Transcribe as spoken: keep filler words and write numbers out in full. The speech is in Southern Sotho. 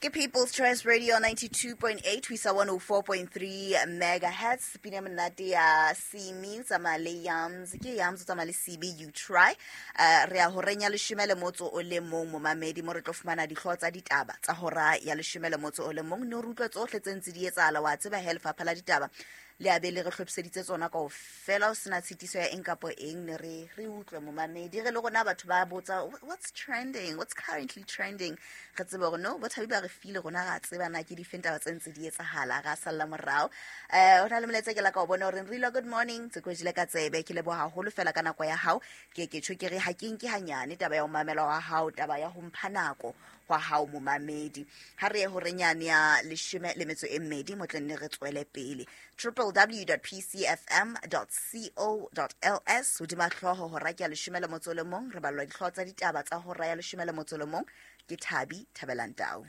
Ke People's Choice Radio ninety-two point eight ho isa one oh four point three megahertz. Pina monate ya Simi, o tsamaya le Yams. Ke Yams o tsamaya le C B, You Try. Uh, re ya horeng ya leshome le motso o le mong, momamedi, mo re tlo fumana dihlooho tsa ditaba tsa hora ya leshome le motso o le mong. Ne re utlwe tsohle tse ntse di etsahala, wa tseba he lefapha la ditaba le a be le re hlophiseditse tsona kaofela, ho sena tshitiso ya eng kapo eng. Ne re re utlwe, momamedi, re le rona batho ba botsa what's trending, what's currently trending, re tsebe hore no bothabi ba re file rona, ra tseba na ke difeng taba tse ntse di etsahala, ra salla morao. Eh, ho na le molaetsa ke la ka o bona hore re good morning, tse kwejile ka tsebe. Ke leboha haholo fela ka nako ya hao. Ke ke tjho ke re ha ke nke hanyane taba ya ho mamela wa hao, taba ya ho mpha nako hwa hao, momamedi. Ha re ye horeng yane ya leshome le metso e mmedi, mo tle nne re tswele pele. w w w dot p c f m dot co dot l s hodima hlooho hora ke ya leshome le motso o le mong, re ballwa dihlooho tsa ditaba tsa hora ya leshome le motso o le mong ke Thabi Thabelang Tau.